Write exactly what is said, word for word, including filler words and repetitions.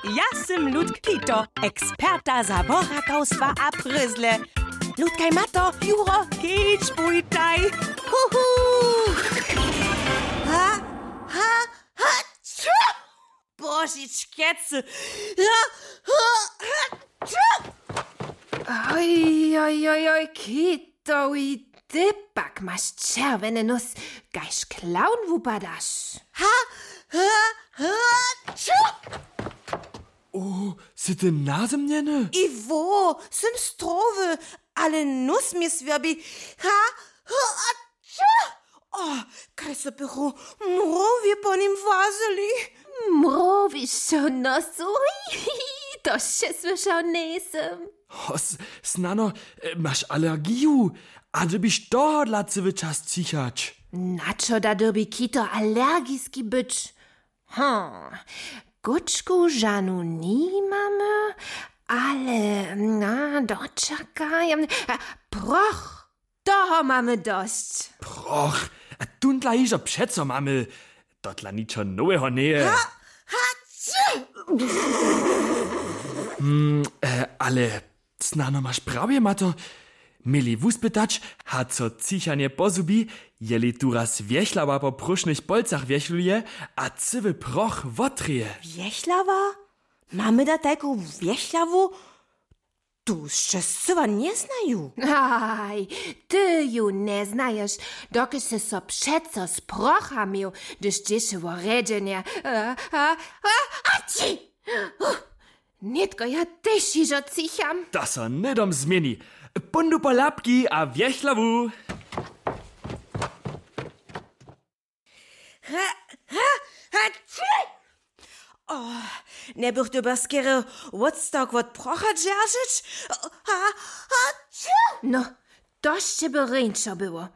Ja sym Ludk Kito, eksperta za borakawstwa a pryzle. Ludkaj Mato, Juro, kedź bójtaj. Huhu! Ha, ha, ha, ču! Božičkecy! Ha, ha, ha, ču! Oj, oj, oj, oj, Kito, oj, ty pak maš čerwjeny nós, kaž clown wupadaš. Ha, ha, ha, ču! O, sy ty nazymnjeny? Iwo, sym strowy, ale nós mje swěrbi. Ha, ha, a ču! O, kaž so bychu mrowje po nim włazyli. Mrowiš so nosu? To sće słyšał njejsym. Hos, snano, e, maš alergiju? A dyrbiš tohodla cyły čas cichać? Na čo da dyrbi Kito alergiski być? Hm, kóčku žanu nimamy, ale na, dočakaj. A, proch, toho mamy dosć. Proch, a tón dla hižo přeco mamy. To dla ničo noweho njeje. Ha, ha, či! Mm, e, ale snano maš prawje, Mato. Měli wuspytać, hač so cichanje pozhubi, jeli tu raz wjechlawa po próšnich polcach wjechluje a cyły proch wotrěje. Wjechlawa? Mamy da tajku wjechlawu? Tu sće scyła njeznaju. Aj, ty ju njeznaješ, dokelž sy so přeco z procha měł, hdyž dźěše wo rjedźenje. A, a, a, a ći! Nětko ja tež hižo cicham. To so hnydom změni. Póńdu po lapki a wjechlawu. Ha, ha, ha, ći! O, njebych dyrbjał skerje wotstawk wot procha dźeržeć? Ha, ha, ći! No, to sće by rjeńšo było.